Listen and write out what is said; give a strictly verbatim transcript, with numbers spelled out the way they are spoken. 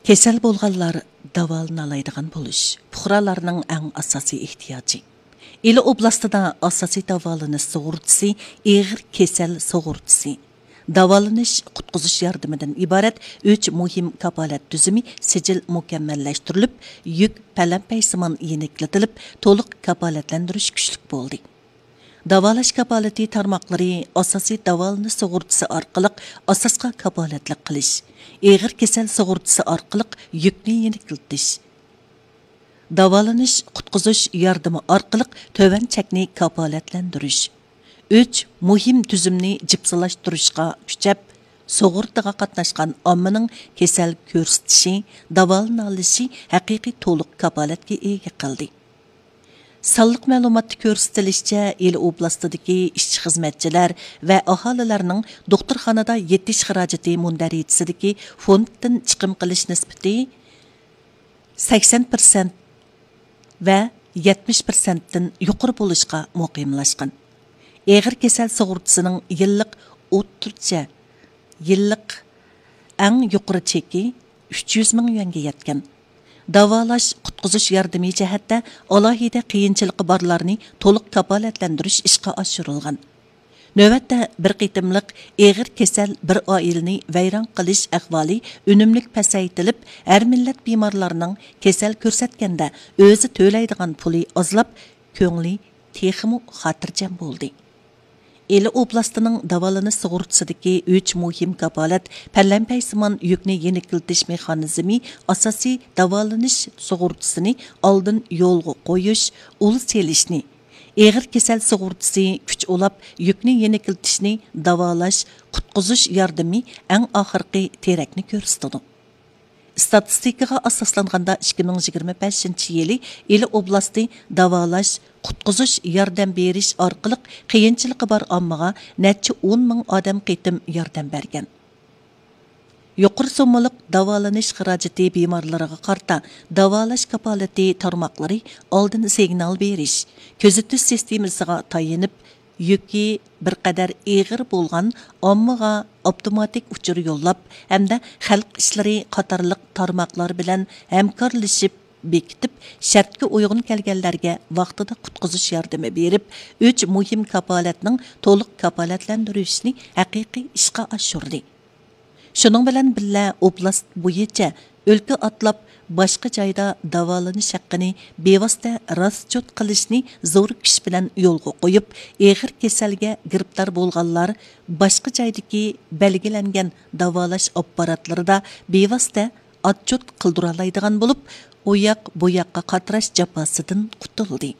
كېسەل بولغانلار داۋالىنالايدىغان بولۇش پۇقرالارنىڭ ئەڭ ئاساسىي ئېھتىياجى. ئىلى ئوبلاستىدا ئاساسىي داۋالىنىش سۇغۇرتىسى ئېغىر كېسەل سۇغۇرتىسى، داۋالىنىش قۇتقۇزۇش ياردىمىدىن ئىبارەت ئۈچ مۇھىم كاپالەت تۈزۈمى سىجىل مۇكەممەللەشتۈرۈلۈپ، يۈك پەلەمپەيسىمان يېنىكلىتىلىپ، تولۇق كاپالەتلەندۈرۈش كۈچلۈك بولدى. داۋالاش كاپالىتى تارماقلىرى ئاساسىي داۋالىنىش سۇغۇرتىسى ئارقىلىق ئاساسقا كاپالەتلىك قىلىش، ئېغىر كېسەل سۇغۇرتىسى ئارقىلىق يۈكنى يېنىكلىتىش، داۋالىنىش قۇتقۇزۇش ياردىمى ئارقىلىق تۆۋەن چەكنى كاپالەتلەندۈرۈش، ئۈچ مۇھىم تۈزۈمنى جىپسىلاشتۇرۇشقا كۈچەپ، سۇغۇرتىغا قاتناشقان ئاممىنىڭ كېسەل كۆرسىتىشى، داۋالىنالىشى ھەقىقىي تولۇق كاپالەتكە ئىگە قىلدى. سانلىق مەلۇماتتا كۆرسىتىلىشىچە، ئىلى ئوبلاستىدىكى ئىشچى-خىزمەتچىلەر ۋە ئاھالىلەرنىڭ دوختۇرخانىدا يېتىش خىراجىتى مۇندەرىجىسىدىكى فوندتىن چىقىم قىلىش نىسبىتى سەكسەن پىرسەنت ۋە يەتمىش پىرسەنتتىن يۇقىرى بولۇشقا مۇقىملاشقان. ئېغىر كېسەل سۇغۇرتىسىنىڭ يىللىق ئوتتۇرىچە، يىللىق ئەڭ يۇقىرى چېكى ئۈچ يۈز مىڭ يۈەنگە يەتكەن. داۋالاش، قۇتقۇزۇش ياردىمى جەھەتتە ئالاھىدە قىيىنچىلىقى بارلارنى تولۇق كاپالەتلەندۈرۈش ئىشقا ئاشۇرۇلغان. نۆۋەتتە بىر قېتىملىق ئېغىر كېسەل بىر ئائىلىنى ۋەيران قىلىش ئەھۋالى ئۈنۈملۈك پەسەيتىلىپ، ھەر مىللەت بىمارلارنىڭ كېسەل كۆرسەتكەندە ئۆزى تۆلەيدىغان پۇلى ئازلاپ، كۆڭلى تېخىمۇ خاتىرجەم بولدى. ئىلى ئوبلاستىنىڭ داۋالىنىش سۇغۇرتىسىدىكى ئۈچ مۇھىم كاپالەت پەلەمپەيسىمان يۈكنى يېنىكلىتىش مېخانىزمى ئاساسىي داۋالىنىش سۇغۇرتىسىنى ئالدىن يولغا قويۇش، ئۇل سېلىشنى، ئېغىر كېسەل سۇغۇرتىسى كۈچ ئۇلاپ يۈكنى يېنىكلىتىشنى داۋالاش، قۇتقۇزۇش ياردىمى ئەڭ ئاخىرقى تىرەكنى كۆرسىتىدۇ. ئىستاتىستىكىغا ئاساسلانغاندا، ئىككى مىڭ يىگىرمە بەشىنچى يىلى ئىلى ئوبلاستى داۋالاش، قۇتقۇزۇش ياردەم بېرىش ئارقىلىق قىيىنچىلىقى بار ئاممىغا نەچچە ئون مىڭ ئادەم قېتىم ياردەم بەرگەن. يۇقىرى سوممىلىق داۋالىنىش خىراجىتى بىمارلىرىغا قارىتا داۋالاش كاپالىتى تارماقلىرى ئالدىن سىگنال بېرىش، كۆزىتىش سىستېمىسىغا تايىنىپ، يۈكى بىر قەدەر ئېغىر بولغان ئاممىغا ئاپتوماتىك ئۇچۇر يوللاپ ھەمدە خەلق ئىشلىرى قاتارلىق تارماقلار بىلەن ھەمكارلىشىپ بېكىتىپ، شەرتكە ئۇيغۇن كەلگەنلەرگە ۋاقتىدا قۇتقۇزۇش ياردىمى بېرىپ، ئۈچ مۇھىم كاپالەتنىڭ تولۇق كاپالەتلەندۈرۈشىنى ھەقىقىي ئىشقا ئاشۇردى. شۇنىڭ بىلەن بىللە، ئوبلاست بويىچە ئۆلكە ئاتلاپ، باشقا جايدا داۋالىنىش ھەققىنى بىۋاسىتە راسچوت قىلىشنى زور كۈچ بىلەن يولغا قويۇپ، ئېغىر كېسەلگە گىرىپتار بولغانلار باشقا جايدىكى بەلگىلەنگەن داۋالاش ئاپپاراتلىرىدا بىۋاسىتە ئاتچوت قىلدۇرالايدىغان بولۇپ، ئۇ ياق، بۇ ياققا قاتراش جاپاسىدىن قۇتۇلدى.